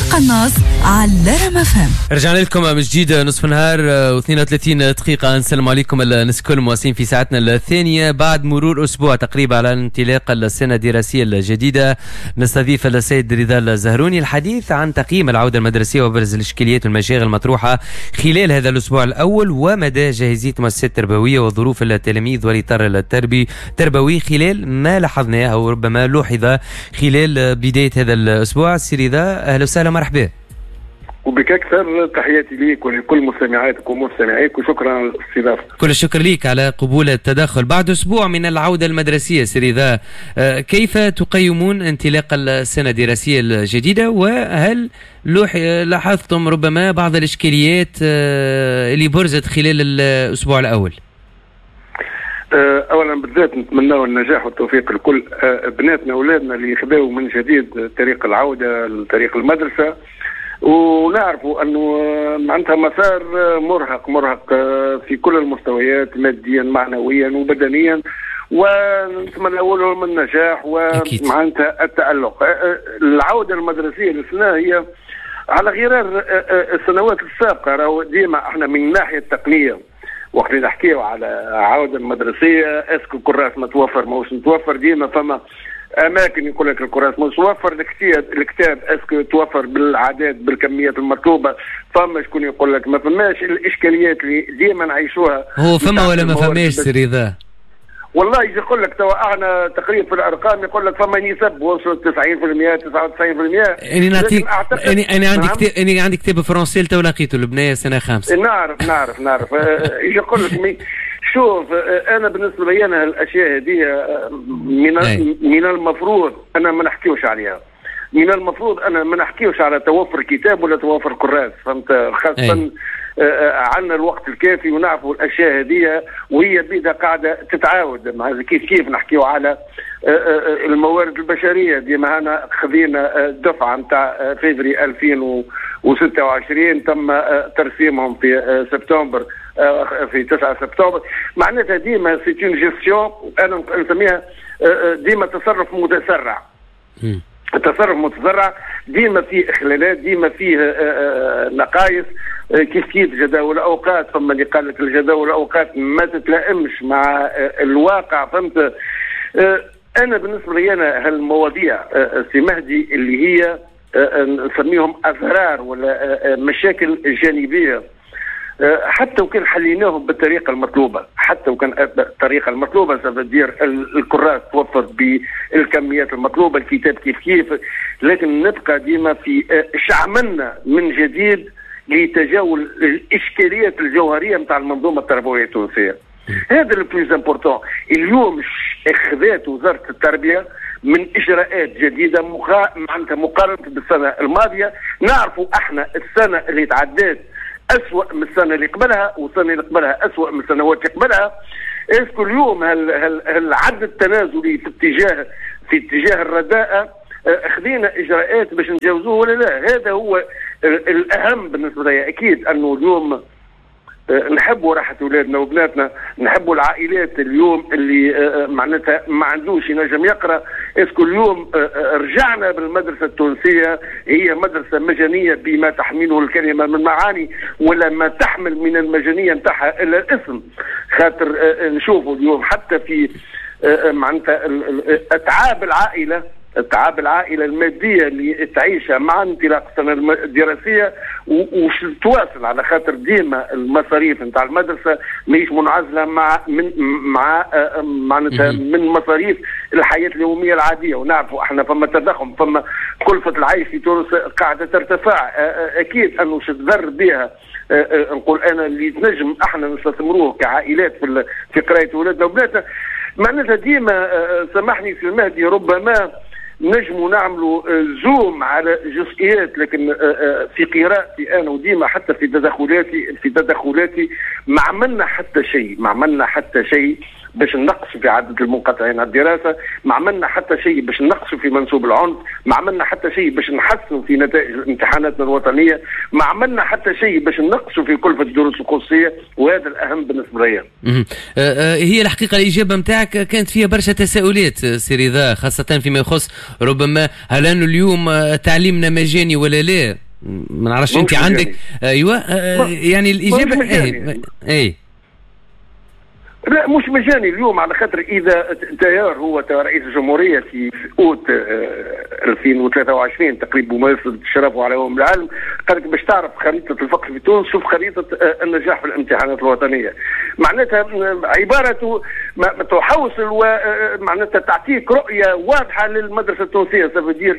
القناص على رام FM. رجعنا لكم من جديد، نصف نهار و32 دقيقة. نسلم عليكم الناس الكل مواصلين في ساعتنا الثانية بعد مرور أسبوع تقريبا على انطلاق السنة الدراسية الجديدة. نستضيف السيد رضا الزهروني الحديث عن تقييم العودة المدرسية وأبرز الإشكاليات والمشاغل المطروحة خلال هذا الأسبوع الأول ومدى جاهزية المؤسسات التربوية وظروف التلاميذ والإطار التربوي خلال ما لاحظناه أو ربما لوحظ خلال بداية هذا الأسبوع. سي رضا، أهلا وسهلا، مرحبا. وبك أكثر، تحياتي ليك ولكل مستمعاتك ومستمعيك وشكرا على الاستضافة. كل الشكر ليك على قبول التدخل. بعد أسبوع من العودة المدرسية سي رضا، كيف تقيمون انطلاق السنة الدراسية الجديدة، وهل لاحظتم ربما بعض الإشكاليات اللي برزت خلال الأسبوع الأول؟ اولا بالذات نتمنى النجاح والتوفيق لكل بناتنا واولادنا اللي خذاو من جديد طريق العودة لطريق المدرسه، ونعرفوا انه معناتها مسار مرهق مرهق في كل المستويات، ماديا معنويا وبدنيا، ونتمنى لهم النجاح ومعناتها التألق. العودة المدرسية للسنة هي على غرار السنوات السابقة، راهو ديما احنا من الناحية التقنية وقت اللي نحكيو على عودة المدرسية، est-ce que الكراس متوفر ماهوش متوفر، ديما فما اماكن يقول لك الكراس متوفر، الكتاب est-ce que توفر بالعدد بالكميات المطلوبه، فما شكون يقول لك ما فماش. الاشكاليات اللي ديما نعيشوها. هو فما ولا ما فماش سي رضا؟ والله يجي يقول لك توا احنا تقريبا في الارقام يقول لك فما نسب وصلت 90% 99%. اني نعطيك اني عندي كتاب، اني عندي كتاب français تو لقيته البنية سنة خامسة. نعرف نعرف نعرف. يجي يقول لك شوف، انا بالنسبة لي انا الاشياء هذه من المفروض انا ما نحكيوش عليها، من المفروض انا ما نحكيوش على توفر كتاب ولا توفر كراس، فهمت؟ خاصة عندنا الوقت الكافي ونعرفوا الاشياء هذه وهي بيدها قاعدة تتعاود. مع كيف كيف نحكيو على الموارد البشريه، ديما انا خذينا دفعه نتاع فيفري 2026 تم ترسيمهم في سبتمبر، في 9 سبتمبر. معناتها ديما c'est une gestion، انا نسميها ديما تصرف متسرع. التصرف متسرع ديما فيه اخلالات، ديما فيه نقائص. كيف كيف جداول الاوقات، فما اللي قال لك الجداول الاوقات ما تتلائمش مع الواقع، فهمت؟ انا بالنسبة لي انا هالمواضيع سي مهدي اللي هي نسميهم اضرار ولا مشاكل جانبيه، حتى وكان حليناهم بالطريقة المطلوبه، حتى وكان الطريقة المطلوبة ça veut dire الكراس توفر بالكميات المطلوبه، الكتاب كيف كيف، لكن نبقى ديما في شعملنا من جديد لتجاوز الاشكاليات الجوهرية نتاع المنظومة التربوية التونسية. هذا le plus important. اليوم اخذت وزارة التربية من اجراءات جديدة معناتها مقارنة بالسنة الماضية. نعرفوا احنا السنة اللي تعدات أسوأ من السنة اللي قبلها، والسنة اللي قبلها أسوأ من السنوات اللي قبلها. est-ce que اليوم هل العد التنازلي في اتجاه الرداءة خذينا اجراءات باش نجاوزوه ولا لا؟ هذا هو الاهم بالنسبة لي. اكيد انه اليوم نحبوا راحة اولادنا وبناتنا، نحبوا العائلات اليوم اللي معناتها ما عندوش ينجم يقرا. est-ce que اليوم رجعنا بالمدرسة التونسية هي مدرسه مجانية بما تحمله الكلمة من معاني، ولا ما تحمل من المجانية نتاعها الا الاسم؟ خاطر نشوفوا اليوم حتى في معناتها اتعاب العائله المادية اللي تعيشها مع انطلاق السنة الدراسية وش تواصل، على خاطر ديما المصاريف نتاع المدرسة ماهيش منعزله مع من مع معناتها من مصاريف الحياة اليومية العاديه، ونعرفوا احنا فما تضخم، فما كلفه العيش في تونس قاعدة ترتفع. اكيد انه تضر بها نقول انا اللي تنجم احنا نستثمروه كعائلات في قرايه اولادنا وبناتنا. معناتها ديما سامحني سي المهدي، ربما نجموا نعملوا zoom على جزئيات، لكن في قراءتي انا وديما حتى في تدخلاتي ما عملنا حتى شيء، ما عملنا حتى شيء. باش نقصوا في عدد المنقطعين عن الدراسة، ما عملنا حتى شيء باش نقصوا في منسوب العنف، ما عملنا حتى شيء باش نحسنوا في نتائج امتحاناتنا الوطنية، ما عملنا حتى شيء باش نقصوا في كلفه الدروس الخصوصية، وهذا الاهم بالنسبة لي. هي الحقيقة الاجابة نتاعك كانت فيها برشا تساؤلات سي رضا، خاصة فيما يخص ربما هل انه اليوم تعليمنا مجاني ولا لا؟ ما نعرفش انت عندك. ايوه يعني الاجابة اي لا مش مجاني اليوم، على خاطر اذا تيار هو رئيس الجمهورية في اوت 2023 تقريبا بمناسبة شرفه على يوم العالم قال لك باش تعرف خريطة الفقر في تونس شوف خريطة النجاح في الامتحانات الوطنية. معناتها عبارته تحوصل ومعناتها تعطيك رؤية واضحة للمدرسة التونسية. ça veut dire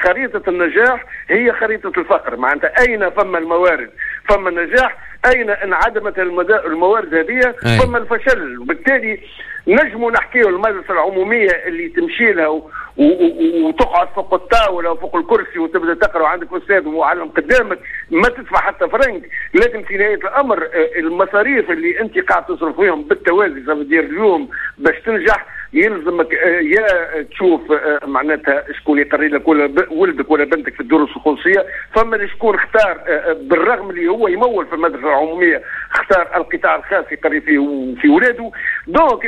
خريطة النجاح هي خريطة الفقر، معناتها اين فما الموارد فما النجاح، اين انعدمت الموارد هذه فما الفشل. وبالتالي نجموا نحكيو المدرسة العمومية اللي تمشي لها وتقعد فوق الطاولة وفوق الكرسي وتبدا تقرا وعندك استاذ ومعلم قدامك ما تدفع حتى فرنك، لكن في نهاية الامر المصاريف اللي انت قاعد تصرف فيهم بالتوازي. ça veut dire اليوم باش تنجح يلزمك يا تشوف معناتها شكون يقري لك ولا ولدك ولا بنتك في الدروس الخصوصية، فما شكون اختار بالرغم اللي هو يمول في المدرسة العمومية اختار القطاع الخاص يقري فيه في ولاده. donc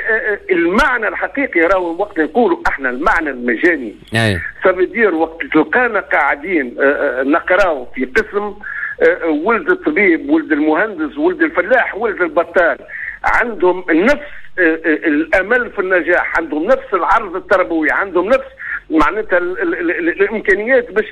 المعنى الحقيقي راهو وقت نقولوا احنا المعنى المجاني ça veut dire وقت تلقانا قاعدين نقراو في قسم ولد الطبيب ولد المهندس ولد الفلاح ولد البطال عندهم نفس الامل في النجاح، عندهم نفس العرض التربوي، عندهم نفس معناتها الامكانيات باش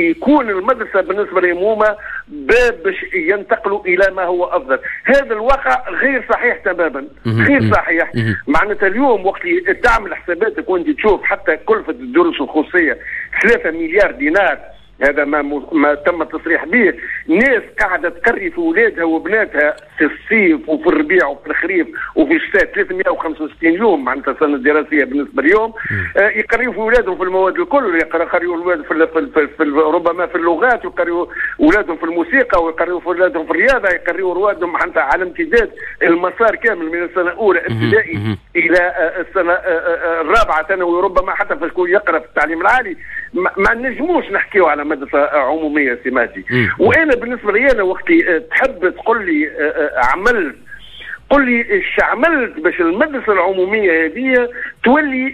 يكون المدرسة بالنسبة لهم هما باب باش ينتقلوا الى ما هو افضل. هذا الواقع غير صحيح تماما، غير صحيح. معناتها اليوم وقت تعمل حساباتك وانت تشوف حتى كلفه الدروس الخصوصية 3 مليار دينار، هذا ما تم التصريح به. ناس قاعدة تقري في اولادها وبناتها في الصيف وفي الربيع وفي الخريف وفي الشتاء 365 يوم معناتها السنة الدراسية بالنسبة اليوم، يقريوا في اولادهم في المواد الكل، يقريوا اولادهم في ربما في اللغات، ويقريوا اولادهم في الموسيقى، ويقريوا في اولادهم في الرياضة، يقريوا اولادهم حتى على امتداد المسار كامل من السنة الاولى ابتدائي الى السنة الرابعة ثانوي، ربما حتى في شكون يقرا في التعليم العالي. ما نجموش نحكيو على مدرسه عموميه سي مهدي. وانا بالنسبة لي انا وقت تحب تقول لي عملت، قل لي ايش عملت باش المدرسة العمومية هذه تولي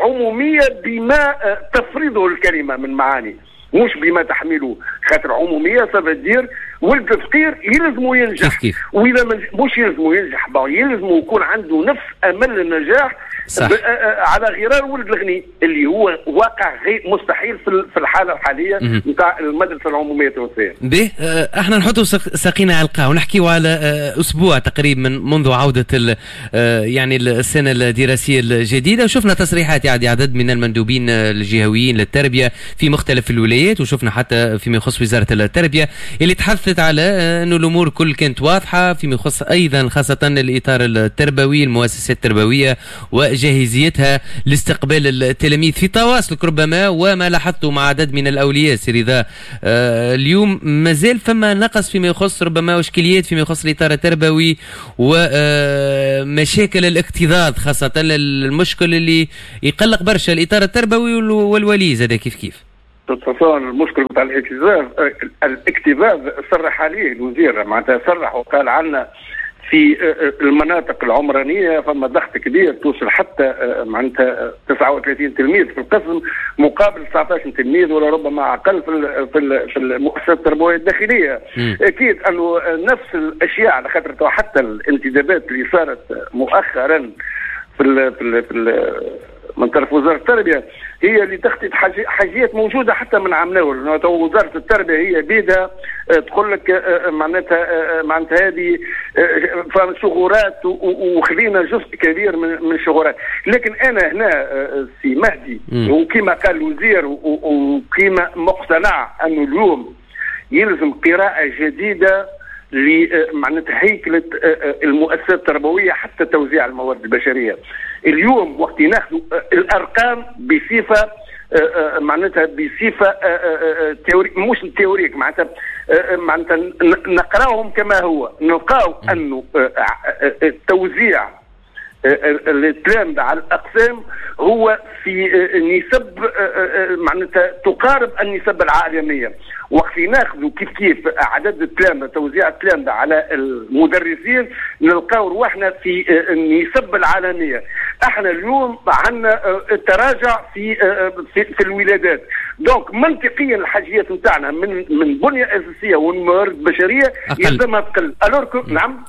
عموميه بما تفرضه الكلمة من معاني، مش بما تحمله. خاطر عموميه ça veut dire ولد الفقير يلزمو ينجح، واذا مش يلزمو ينجح يلزمو يكون عنده نفس امل النجاح صح. على غرار ولد الغني اللي هو واقع غير مستحيل في الحالة الحالية نتاع المدرسة العمومية التونسية. به احنا نحطوا ساقينا على القاع ونحكيوا على اسبوع تقريبا منذ عوده يعني السنة الدراسية الجديدة، وشفنا تصريحات يعني عدد من المندوبين الجهويين للتربية في مختلف الولايات، وشفنا حتى فيما يخص وزارة التربية اللي تحدثت على انه الامور كل كانت واضحة فيما يخص ايضا خاصة الاطار التربوي، المؤسسات التربوية وجاهزيتها لاستقبال التلاميذ. في تواصلك ربما وما لاحظته مع عدد من الاولياء سي رضا، اليوم مازال فما نقص فيما يخص ربما اشكاليات فيما يخص الاطار التربوي ومشاكل الاكتظاظ، خاصة المشكل اللي يقلق برشا الاطار التربوي والولي زاد كيف كيف. المشكل نتاع الاكتظاظ صرح عليه الوزير، معناتها صرح وقال عنا في المناطق العمرانية فما ضغط كبير توصل حتى معناتها 39 تلميذ في القسم مقابل 19 تلميذ ولا ربما اقل في المؤسسات التربوية الداخلية. اكيد انه نفس الاشياء على خاطر حتى الانتدابات اللي صارت مؤخرا في ال في ال من طرف وزارة التربية هي اللي تخطط حاجات موجودة حتى من عام الاول. وزارة التربية هي بيدها تقول لك معناتها هذه شغورات وخذينا جزء كبير من الشغورات. لكن انا هنا سي مهدي وكما قال الوزير وكما مقتنع انه اليوم يلزم قراءة جديدة لمعناتها هيكله المؤسسات التربوية حتى توزيع الموارد البشرية. اليوم وقت ناخذ الارقام بصفة معناتها بصفة théorique، مش théorique، معناتها نقراهم كما هو، نلقاو انه التوزيع التلامذة على الأقسام هو في نسب معناتها تقارب النسب العالمية. وقت ناخذوا كيف كيف عدد التلامذة، توزيع التلامذة على المدرسين، نلقاو رواحنا في النسب العالمية. احنا اليوم عندنا تراجع في الولادات، donc منطقيا الحاجيات نتاعنا من بنية أساسية وموارد بشرية يلزمها تقل. alors نعم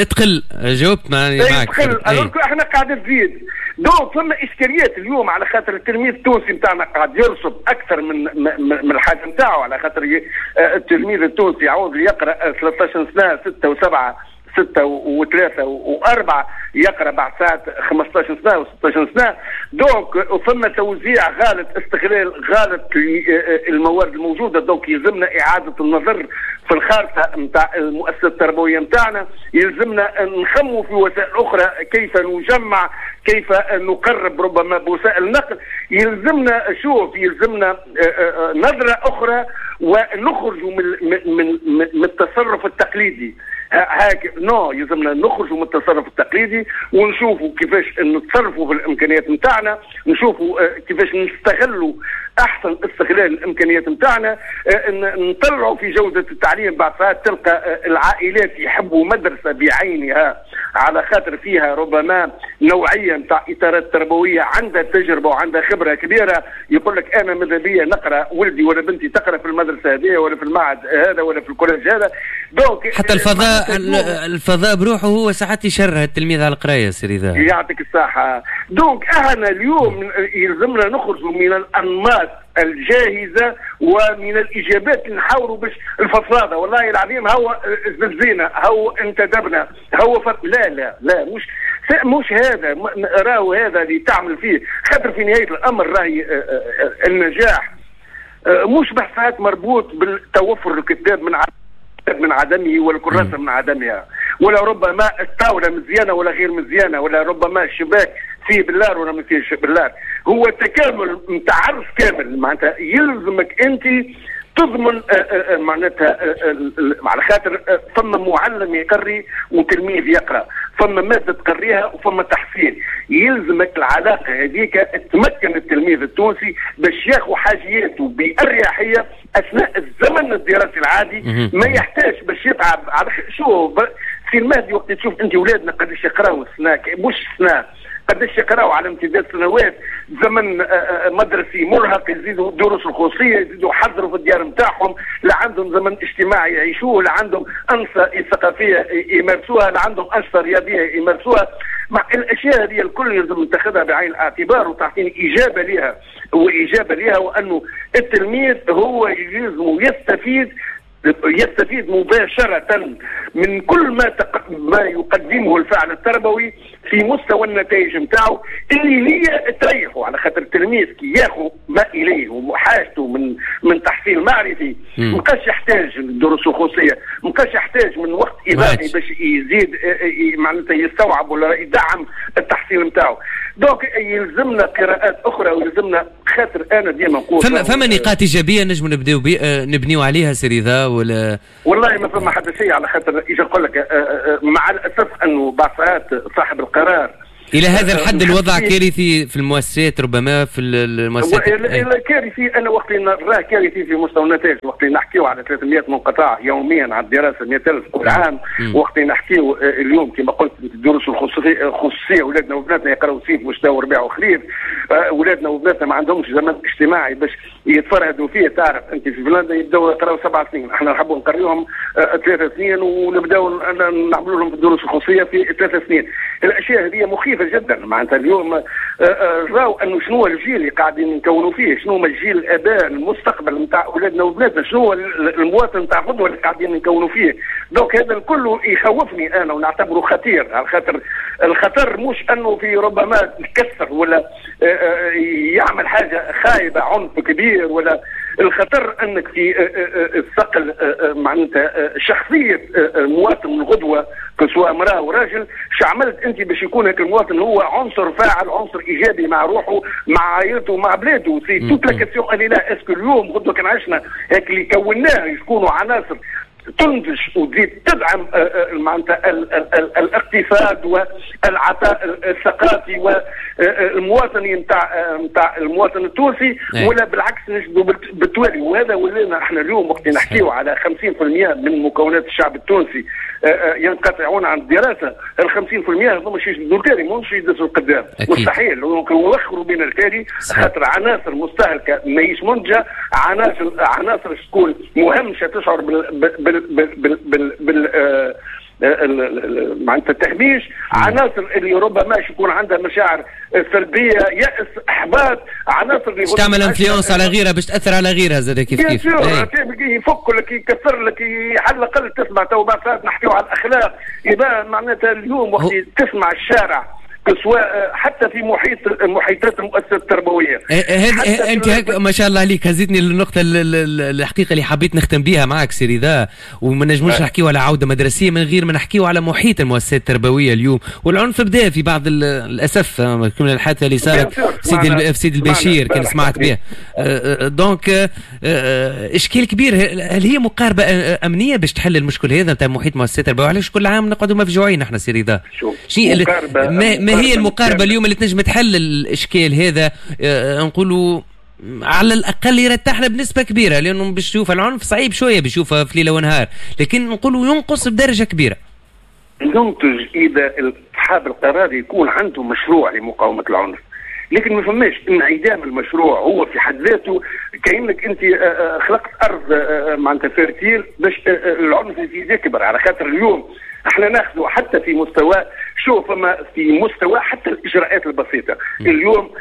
تقل، جاوبت معك تقل، alors احنا قاعدة تزيد. donc فما اشكاليات اليوم على خاطر التلميذ التونسي نتاعنا قاعد يرسب اكثر من الحاجة نتاعو، على خاطر التلميذ التونسي يعود يقرا 13 سنة، 6 و7، 6 و3 و4، يقرا بعد ساعات 15 سنة و16 سنة. donc فما توزيع غلط، استغلال غلط للموارد الموجودة. donc يلزمنا اعاده النظر في الخارطة نتاع المؤسسة التربوية نتاعنا، يلزمنا نخموا في وسائل اخرى، كيف نجمع، كيف نقرب ربما بوسائل النقل. يلزمنا شوف، يلزمنا نظره اخرى ونخرج من التصرف التقليدي. هاك non، يلزمنا نخرجوا من التصرف التقليدي ونشوفوا كيفاش نتصرفوا في الامكانيات نتاعنا، نشوفوا كيفاش نستغلوا احسن استغلال الامكانيات نتاعنا، نطلعوا في جوده التعليم. بعد ساعات تلقى العائلات يحبوا مدرسه بعينها على خاطر فيها ربما نوعية نتاع اطارات تربوية عندها تجربه وعندها خبره كبيرة، يقول لك انا ماذا بيا نقرا ولدي ولا بنتي تقرا في المدرسة هذه ولا في المعهد هذا ولا في ال collège هذا. donc حتى الفضاء بروحه هو ساعات يشره التلميذ على القراية. سي رضا يعطيك الصحة. donc احنا اليوم يلزمنا نخرجوا من الانماط الجاهزة ومن الاجابات اللي نحاولوا باش الفضفاضه. والله العظيم هو زلزينا، هو انتدبنا، هو لا لا لا، مش هذا راهو، هذا اللي تعمل فيه. خاطر في نهاية الامر راهي النجاح مش بحثات مربوط بالتوفر الكتاب من عدمه والكراسه من عدمها، ولا ربما الطاولة مزيانه ولا غير مزيانه، ولا ربما الشباك فيه بلار ولا ما فيهش بلار. هو تكامل نتاع عرض كامل، معناتها يلزمك انت تضمن معناتها، على خاطر فما معلم يقري وتلميذ يقرا، فما مادة تقريها وفما تحصيل. يلزمك العلاقة هذيك تمكن التلميذ التونسي باش ياخذ حاجياته باريحية اثناء الزمن الدراسي العادي، ما يحتاج باش يتعب. على شو في المهدي وقت تشوف انت اولادنا قداش يقراوا السنة، مش سنة، قداش يقراوا على امتداد سنوات، زمن مدرسي مرهق، يزيدوا دروس الخصوصية، يزيدوا يحضروا في الديار نتاعهم، لا عندهم زمن اجتماعي يعيشوه، لا عندهم انشطة ثقافية يمارسوها، لا عندهم انشطة رياضية يمارسوها. مع الاشياء هذه الكل لازم نتخذها بعين الاعتبار وتعطيني اجابه لها، واجابه لها وانه التلميذ هو يلزم يستفيد مباشرة من كل ما يقدمه الفعل التربوي في مستوى النتائج نتاعو اللي هي تريحه. على خاطر التلميذ كي ياخذ ما اليه وحاجته من تحصيل معرفي، ما بقاش يحتاج الدروس الخصوصية، ما بقاش يحتاج من وقت اضافي باش يزيد معناتها يستوعب ولا يدعم التحصيل نتاعو. donc يلزمنا قراءات اخرى ويلزمنا، خاطر انا ديما نقول فما نقاط ايجابية نجم نبداو نبنيو عليها سي رضا ولا؟ والله ما فما حتى شيء، على خاطر اجي نقول لك مع الاسف انه بعض ساعات صاحب القرار الى هذا الحد الوضع كارثي في المؤسسات، ربما في المؤسسات كارثي. انا وقت اللي نراه كارثي في مستوى النتائج، وقت اللي نحكيو على 300 منقطع يوميا على الدراسة، 100,000 كل عام، وقت اللي نحكيو اليوم كما قلت الدروس الخصوصية، اولادنا وبناتنا يقراوا صيف وشتاء وربيع وخريف، اولادنا وبناتنا ما عندهمش زمن اجتماعي باش يتفرهدوا فيه. تعرف انت في فنلندا يبداو يقراوا 7 سنين، احنا نحبوا نقريهم 3 سنين ونبداو نعملوا لهم في الدروس الخصوصية في 3 سنين. الاشياء هذه مخيفة جدا. معناتها اليوم راو انه شنو الجيل اللي قاعدين نكونوا فيه، شنو هما الجيل الاباء المستقبل نتاع اولادنا وبناتنا، شنو المواطن نتاع غدوه اللي قاعدين نكونوا فيه. donc هذا الكل يخوفني انا ونعتبره خطير، على خاطر الخطر مش انه في ربما يكسر ولا يعمل حاجة خايبة عنف كبير، ولا الخطر انك في الثقل معناتها شخصية مواطن الغدوه سواء امراة وراجل، شعملت انت باش يكون هيك المواطن هو عنصر فاعل، عنصر ايجابي مع روحه، مع عائلته، مع بلاده. c'est toute la question elle est là. est-ce que اليوم غدوه كان عشنا هيك اللي كوناه يكونوا عناصر تنتج وتزيد تدعم معناتها الاقتصاد والعطاء الثقافي والمواطني نتاع المواطن التونسي، ولا بالعكس نجدوا بالتوالي. وهذا ولينا احنا اليوم وقت نحكيو على 50% من مكونات الشعب التونسي ينقطعون عن الدراسة، ال 50% هذوما مش يجدوا التالي، مش يدزوا القدام، مستحيل يوخروا بين التالي، خاطر عناصر مستهلكه ماهيش منتجه، عناصر تكون مهمشه تشعر بال بال بال بال بال معناتها التهميش، عناصر اللي ربما يكون عندها مشاعر سلبية، يأس، احباط، عناصر اللي تعمل influence على غيرها باش تاثر على غيرها زاد كيف كيف يفك لك، يكسر لك، على الاقل تسمع تو بعد نحكيو على الاخلاق. يبقى معناتها اليوم وقت تسمع الشارع سواء حتى في محيطات المؤسسة التربوية. انت هيك ما شاء الله عليك هزيتني للنقطة الحقيقة اللي حبيت نختم بها معك سي رضا، وما نجموش نحكيو على عوده مدرسيه من غير ما نحكيو على محيط المؤسسات التربوية اليوم. والعنف بدا في بعض الاسف كما الحادثة اللي صارت في سيدي البشير كان سمعت بها. donc اشكال كبير. هل هي مقاربة امنية باش تحل المشكل هذا نتاع محيط المؤسسات التربوية؟ علاش كل عام نقعدوا مفجوعين احنا سي رضا؟ ما هي المقاربة اليوم اللي تنجم تحل الإشكال هذا؟ نقولوا على الأقل يرتاحنا بنسبة كبيرة، لأنه باش تشوف العنف صعيب شوية باش تشوفها في ليلة ونهار، لكن نقولوا ينقص بدرجة كبيرة. ينتج إذا أصحاب القرار يكون عنده مشروع لمقاومة العنف، لكن ما فماش انعدام المشروع هو في حد ذاته كأنك أنت خلقت أرض معناتها fertile باش العنف يزيد يكبر. على خاطر اليوم احنا ناخذ حتى في مستوى شوف فما في مستوى حتى الاجراءات البسيطة. اليوم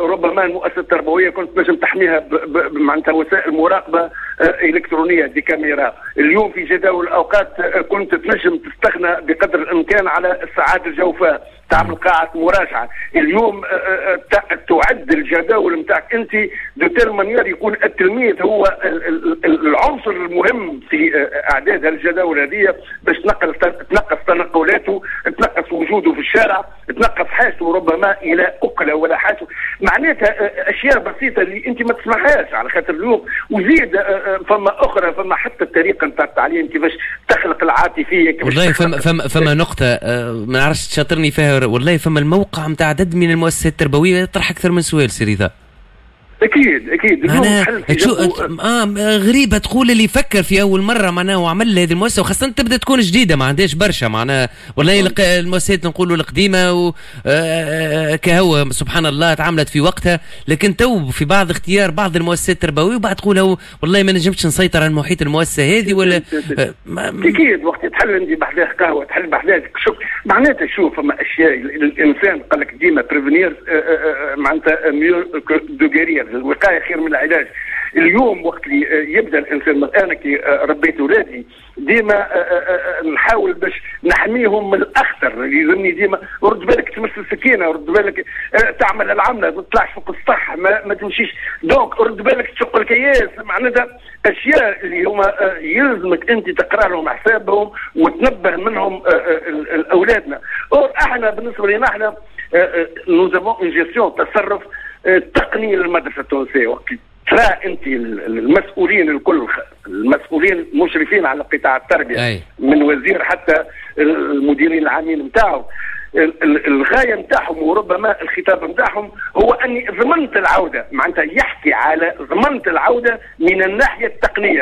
ربما المؤسسة التربوية كنت نجم تحميها معناتها وسائل مراقبة الكترونية des caméras. اليوم في جداول الاوقات كنت تنجم تستغنى بقدر الامكان على الساعات الجوفاء، تعمل قاعة مراجعه. اليوم تعد الجداول نتاعك انت de telle manière يكون التلميذ هو العنصر المهم في اعداد الجداول هذه باش تنقص تنقلاته، تنقص وجوده في الشارع، تنقص حاجته ربما الى اكله ولا حاجته. معناتها اشياء بسيطة اللي انت ما تسمعهاش على خاطر اليوم. وزيد فما اخرى، فما حتى الطريقة نتاع التعليم كيفاش تخلق العاطفية كيفاش. والله فما نقطة ما نعرفش تشاطرني فيها، والله فما الموقع نتاع عدد من المؤسسات التربوية يطرح اكثر من سؤال سي رضا. اكيد اكيد معناها غريبة تقول اللي فكر في اول مرة معناها وعمل هذه المؤسسة، وخاصة تبدا تكون جديدة ما عندهاش برشا معناها. والله المؤسسات نقولوا القديمة كهو سبحان الله تعاملت في وقتها، لكن تو في بعض اختيار بعض المؤسسات التربوية وبعد تقول والله ما نجمتش نسيطر على المحيط المؤسسة هذه ولا اكيد وقت تحل انت بحذاه قهوة، تحل بحذاه شوف معناتها. شوف فما اشياء الانسان قال لك ديما prévenir معناتها mieux que de guérir، الوقاية خير من العلاج. اليوم وقت اللي يبدا الانسان، انا كي ربيت اولادي ديما نحاول باش نحميهم من الاخطر، يلزمني ديما رد بالك تمس السكينة، رد بالك تعمل العملة، ما تطلعش فوق السطح، ما تمشيش، donc رد بالك تشق الكياس. معناتها اشياء اللي هما يلزمك انت تقرا لهم حسابهم وتنبه منهم اولادنا. احنا بالنسبة لنا احنا nous avons une gestion تصرف تقني للمدرسة التونسية. وقت ترى انت المسؤولين الكل، المسؤولين المشرفين على قطاع التربية أي. من وزير حتى المديرين العامين نتاعو، الغاية نتاعهم وربما الخطاب نتاعهم هو اني ضمنت العودة، معناتها يحكي على ضمنت العودة من الناحية التقنية.